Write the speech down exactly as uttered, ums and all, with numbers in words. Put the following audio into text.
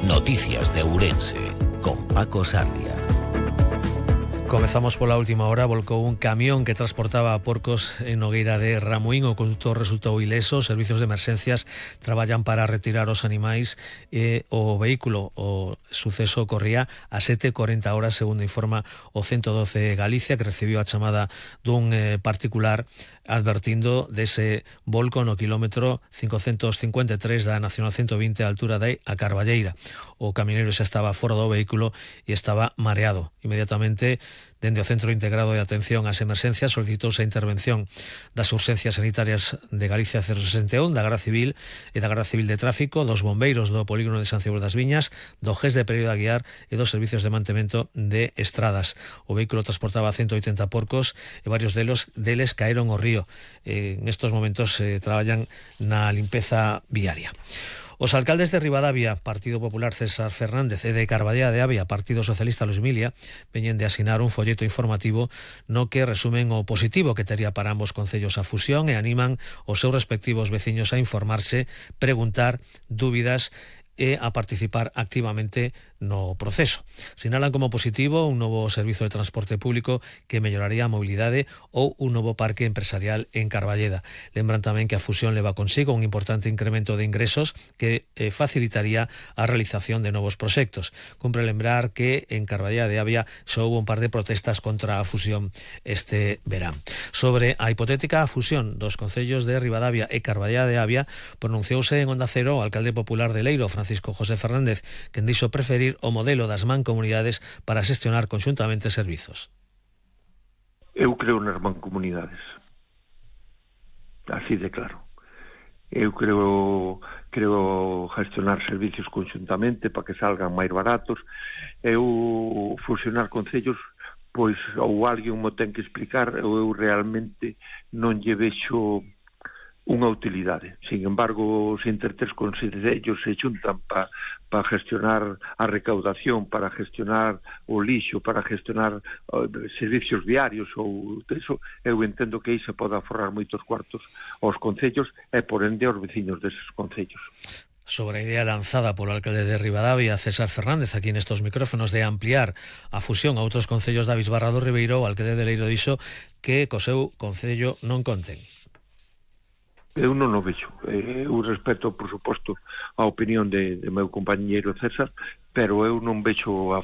Noticias de Ourense, con Paco Sarria. Comezamos pola última hora. Volcou un camión que transportaba porcos en Nogueira de Ramuín. O condutor resultou ileso. Os servicios de emerxencias traballan para retirar os animais e o vehículo, o suceso ocorría a sete e corenta horas, segundo informa o ciento doce Galicia, que recibiu a chamada dun eh, particular advertindo dese volco no quilómetro cincocentos cincuenta e tres da Nacional ciento vinte a altura de a Carballeira. O camioneiro xa estaba fora do vehículo e estaba mareado. Inmediatamente, dende o Centro Integrado de Atención ás Emerxencias, solicitouse a intervención das urxencias sanitarias de Galicia cero sesenta e un, da Garda Civil e da Garda Civil de Tráfico, dos bombeiros do polígono de San Cibró das Viñas, do G E S de Pereiro de Aguiar e dos servicios de mantemento de estradas. O vehículo transportaba ciento oitenta porcos e varios delos deles caeron ao río. En estos momentos eh, traballan na limpeza viaria. Os alcaldes de Ribadavia, Partido Popular César Fernández, e de Carballeda de Avia, Partido Socialista Luis Milia, veñen de asinar un folleto informativo no que resumen o positivo que tería para ambos concellos a fusión e animan os seus respectivos veciños a informarse, preguntar, dúbidas e a participar activamente no proceso. Sinalan como positivo un novo servizo de transporte público que melloraría a mobilidade ou un novo parque empresarial en Carballeda. Lembran tamén que a fusión leva consigo un importante incremento de ingresos que eh, facilitaría a realización de novos proxectos. Cumpre lembrar que en Carballeda de Avia xa houve un par de protestas contra a fusión este verán. Sobre a hipotética fusión dos concellos de Ribadavia e Carballeda de Avia, pronunciouse en Onda Cero o alcalde popular de Leiro, Francisco José Fernández, quen dixo preferir o modelo das mancomunidades para xestionar conxuntamente servizos. Eu creo nas mancomunidades, así de claro. Eu creo creo gestionar servicios conxuntamente para que salgan máis baratos. Eu fusionar concellos, pois ou alguén mo ten que explicar, ou eu realmente non lle vexo unha utilidade. Sin embargo, os intertres concellos se xuntan para pa gestionar a recaudación, para gestionar o lixo, para gestionar uh, servicios viarios ou eso, eu entendo que aí se pode aforrar moitos cuartos aos concellos e por ende aos veciños deses concellos. Sobre a idea lanzada polo alcalde de Ribadavia, César Fernández, aquí nestos micrófonos, de ampliar a fusión a outros concellos da Bisbarra do Ribeiro, o alcalde de Leiro dixo que co seu concello non conten. Eu non o vexo. Eu respeto, por suposto, a opinión de, de meu compañeiro César, pero eu non vexo a